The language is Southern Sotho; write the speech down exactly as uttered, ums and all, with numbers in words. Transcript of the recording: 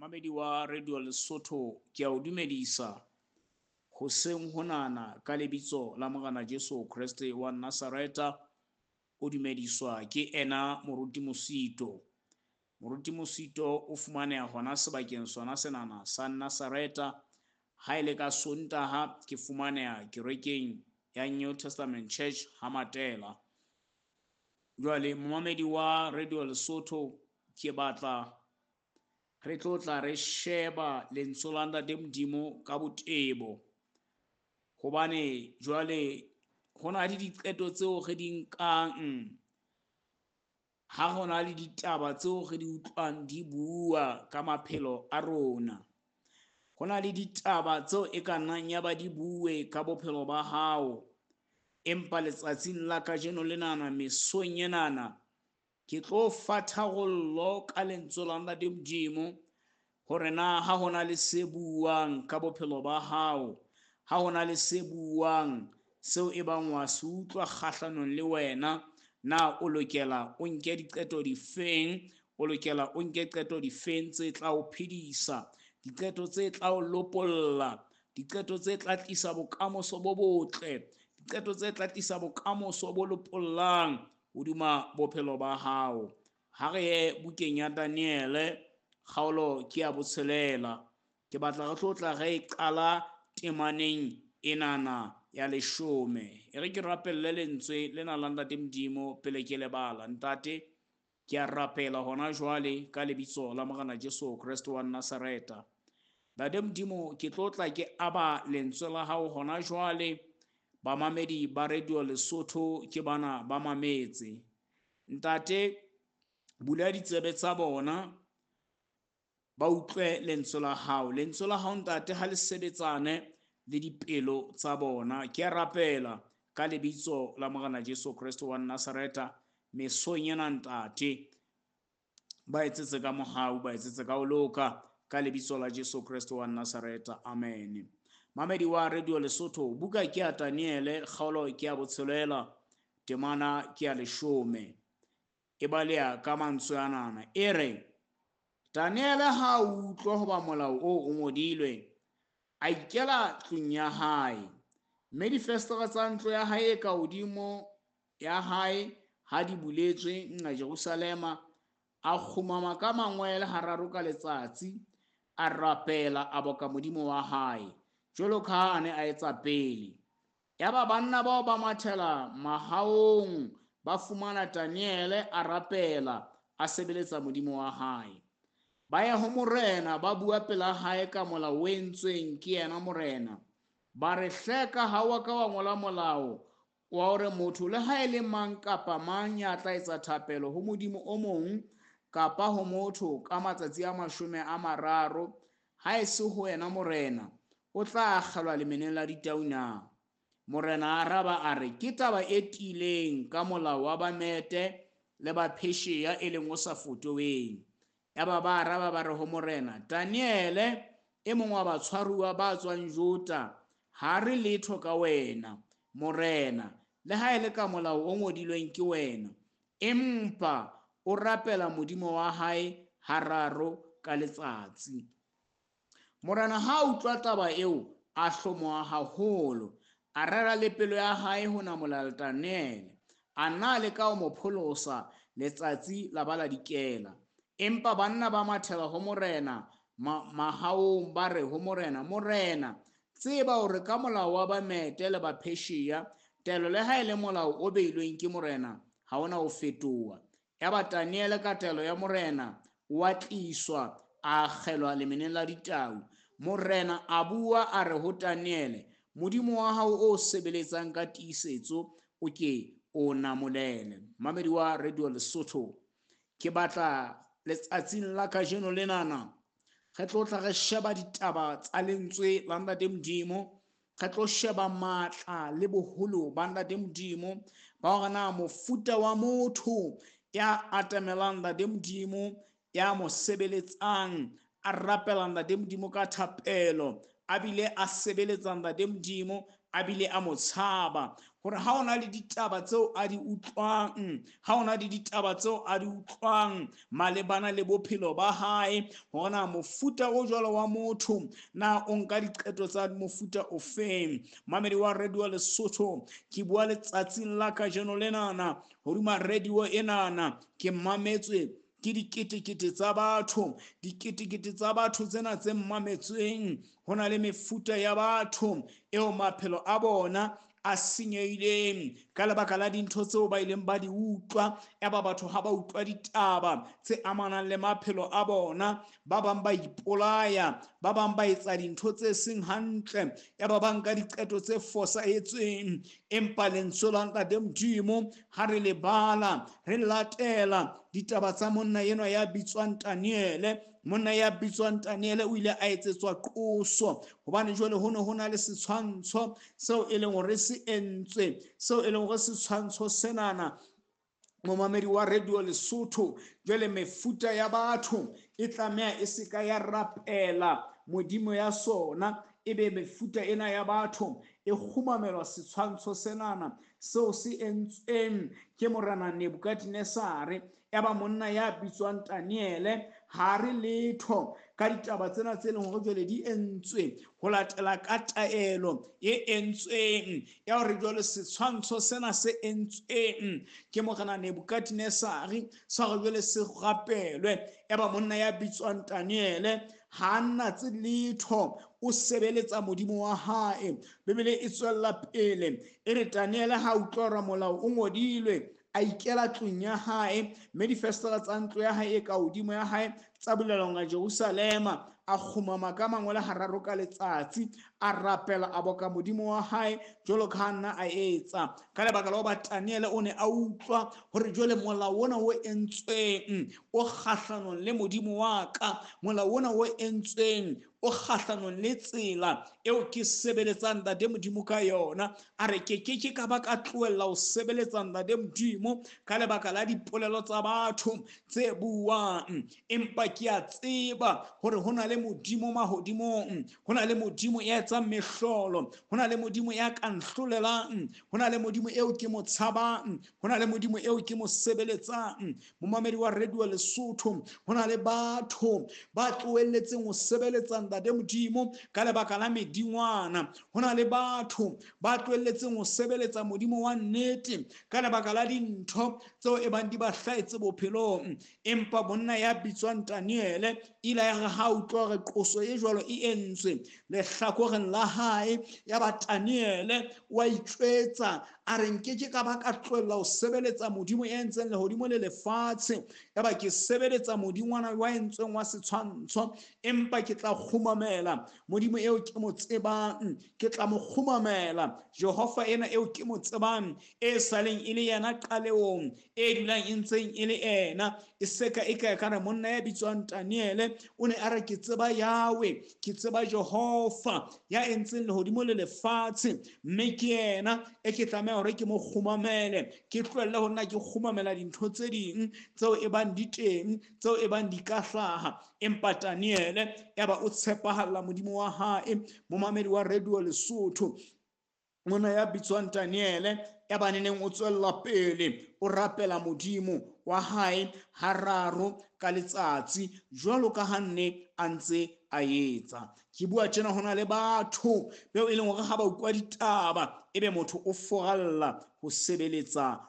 Mamedi wa Radio Lesotho, ke a o dumedisa hoseng honana ka lebitso la Morena Jesu Kreste wa Nazareta. O dumediswa ke ena Moruti Mosito. Moruti Mosito o fumaneha hona sebakeng sona senana sa Nazareta. Ha ele ka Sontaha ke fumaneha kerekeng ya New Testament Church ha Matela. Jwale momamedi wa Radio Lesotho, ke batla re tlo tla re sheba lentswe la Ntate Modimo ka botebo, hobane jwale ho na le diqeto tseo re di nkang, ha ho na le ditaba tseo re di utlwang di bua ka maphelo a rona. Ho na le ditaba tseo e ka nnang ya ba di bue ka bophelo ba hao, empa letsatsing la kajeno lenana, mesong enana, ke tlo fa tharollo ka lentswe la Ntate Modimo hore na ha hona le se buang ka bophelo ba hao, ha hona le se buang seo e bang wa se utlwa kgahlanong le wena, na o lokela o nke diqeto difeng, o lokela o nke qeto difeng tse tla o phedisa, diqeto tse tla o lopolla, diqeto tse tla tlisa bokamoso bo botle, diqeto tse tla tlisa bokamoso bo lopollang hodima bophelo ba hao. Ha re ye bukeng ya Daniele, kgaolo ke ya botshelela. Ke batla re tlo tla re e qala temaneng enana ya leshome. E re ke rapelle lentswe lena la Ntate Modimo pele ke lebala. Ntate, ke a rapela hona jwale ka lebitso la Morena Jesu Kreste wa Nazareta. Ntate Modimo, ke tlo tla ke aba lentswe la hao hona jwale. Bamamedi ba Radio Lesotho ke bana ba mametse. Ntate, bula ditsebe tsa bona, ba utlwe lentswe la hao. Lentswe la hao ntate ha le sebetsane le dipelo tsa bona. Ke a rapela ka lebitso la Morena Jesu Kreste wa Nazareta, mesong ena ntate, ba etsetse ka mohau, ba etsetse ka ho loka, ka lebitso la Jesu Kreste wa Nazareta. Amen. Mamedi wa Radio Lesotho, buka ke ya Daniele, kgaolo ke ya botshelela, temana ke ya leshome. E baleha ka mantswe anana. E re, Daniele ha a utlwa hoba molao oo o ngodilwe, a ikela tlung ya hae, mme difestere tsa ntlo ya hae e ka hodimo ya hae ha di buletswe nqa Jerusalema, a kgumama ka mangwele hararo ka letsatsi, a rapela, a boka Modimo wa hae, jwalo ka ha a ne a etsa pele. Yaba banna bao ba mathela mahaong, ba fumana Daniele a rapela, a sebeletsa Modimo wa hae. Ba ya ho morena, ba bua pela hae ka molao o entsweng ke yena morena. Ba re, hleka ha wa ka wa ngola molao wa hore motho le ha e le mang kapa mang ya tla etsa thapelo ho Modimo o mong kapa ho motho ka matsatsi a mashome a mararo, ha e se ho yena morena, o tla akgelwa lemeneng la ditau na? Morena a araba a re, ke taba e tiileng ka molao wa Bamete le ba Persia e leng o sa fotoweng. Yaba ba araba ba re ho morena, Daniele e mong wa batshwaruwa ba tswang Juda, ha re letho ka wena morena, le ha e le ka molao o ngodilweng ke wena, empa o rapela Modimo wa hae hararo ka letsatsi. Morena ha a utlwa taba eo, a hlomoha haholo, a rera le pelo ya hae ho namola Daniele, a nna a leka ho mo pholosa, letsatsi la ba la dikela. Empa banna ba mathela ho morena mahaong, ba re ho morena, morena, tseba hore ka molao wa Bamete le ba Persia, taelo le ha e le molao o beilweng ke morena, ha ona ho fetoha. Yaba Daniele ka taelo ya morena o a tliswa, a akgelwa lemeneng la ditau. Morena a bua a re ho Daniele, Modimo wa hao o sebeletsang ka tiisetso o ke o namolele. Mamedi wa Radio Lesotho, ke batla letsatsing la kajeno lenana re tlo tla re sheba ditaba tsa lentswe la Ntate Modimo, re tlo sheba matla le boholo ba Ntate Modimo, ba hore na mofuta wa motho ya atamelang Ntate Modimo, ya mo sebeletsang, a rapela Ntate Modimo ka thapelo, a bile a sebeletsa Ntate Modimo, a bile a mo tshaba, hore ha ona le ditaba tseo a di utlwang, ha ona le ditaba tseo a di utlwang malebana le bophelo ba hae, hore na mofuta o jwalo wa motho na o nka diqeto tsa mofuta ofeng. Mamedi wa Radio Lesotho, ke bua letsatsing la kajeno lenana hodima radio enana, ke mametswe ke diketekete tsa batho, diketekete tsa batho tsena tse mametsweng. Ho na le mefuta ya batho eo maphelo a bona a senyehileng ka lebaka la dintho tseo ba ileng ba di utlwa. Eba batho ha ba utlwa ditaba tse amanang le maphelo a bona, ba bang ba ipolaya, ba bang ba etsa dintho tse seng hantle, eba ba nka diqeto tse fosahetseng. Empa lentswe la Ntate Modimo ha re le bala, re latela ditaba tsa monna enwa ya bitswang Daniele. Monna ya bitswang Daniele o ile a etsetswa qoso hobane jwale ho ne ho na le setshwantsho seo e leng hore se entswe, seo e leng hore setshwantsho senana, momamedi wa Radio Lesotho, jwale mefuta ya batho e tlameha e se ka ya rapela modimo ya sona, ebe mefuta ena ya batho e kgumamelwa setshwantsho senana seo se entsweng ke morena Nebukadnesare. Eba monna ya bitswang Daniele ha re letho ka ditaba tsena tse leng hore jwale di entswe ho latela ka taelo e entsweng ya hore jwale setshwantsho sena se entsweng ke morena Nebukadnesare sa hore jwale se rapelwe. Eba monna ya bitswang Daniele ha nna tse letho, o sebeletsa modimo wa hae. Bibele e tswella pele e re Daniele ha utlwa hore molao o ngodilwe, a ikela tlung ya hae, mme difestela tsa ntlo ya hae e ka hodimo ya hae tsa bulelwa nga Jerusalema. A kgumama ka mangwele hararo ka letsatsi, a rapela, a boka modimo wa hae jwalo ka ha nna a etsa. Ka lebaka la hoba Daniele o ne a utlwa hore jwale molao ona o entsweng o kgahlanong le modimo wa ka, molao ona o entsweng o kgahlanong le tsela eo ke sebeletsang Ntate Modimo ka yona. A re ke ke ke ka ba ka tlohella ho sebeletsa Ntate Modimo ka lebaka la dipolelo tsa batho tse buang, empa ke a tseba hore ho na le modimo mahodimong, ho na le modimo ya etsang mehlolo, ho na le modimo ya ka nhlolelang, ho na le modimo eo ke mo tshabang, ho na le modimo eo ke mo sebeletsang. Momamedi wa Radio Lesotho, ho na le batho ba tlohelletseng ho sebeletsa Ntate Modimo ka lebaka la medingwana, ho na le batho ba tlohelletseng ho sebeletsa modimo wa nnete ka lebaka la dintho tseo e bang di ba hlahetse bophelong. Empa monna ya bitswang Daniele ile ya re ha utlwa hore qoso e jwalo e entswe lehlakoreng la hae, ya ba Daniele wa itjwetsa a re nke ke ka ba ka tlohella ho sebeletsa modimo ya entseng lehodimo le lefatshe, ya ba ke sebeletsa modingwana wa entsweng wa setshwantsho, empa ke tla kgumamela modimo eo ke mo tsebang, ke tla mo kgumamela Jehova ena eo ke mo tsebang, e saleng e le yena qaleong, e dulang e ntseng e le ena. E seka e ka re monna ya bitswang Daniele o ne a re ke tseba Yahweh, ke tseba Jehova ya entseng lehodimo le lefatshe, mme ke yena e ke tlameha hore ke mo kgumamele, ke tlohelle ho nna ke kgumamela dintho tse ding tseo e bang di teng, tseo e bang di ka hlaha. Empa Daniele ya ba o tshepahalla modimo wa hae. Momamedi wa Radio Lesotho, monna ya bitswang Daniele ya ba neneng o tswella pele o rapela modimo wa hae hararo ka letsatsi jwalo ka ha nne a ntse a etsa. Ke bua tjena, ho na le batho beo e leng hore ha ba utlwa ditaba ebe motho o foralla ho sebeletsa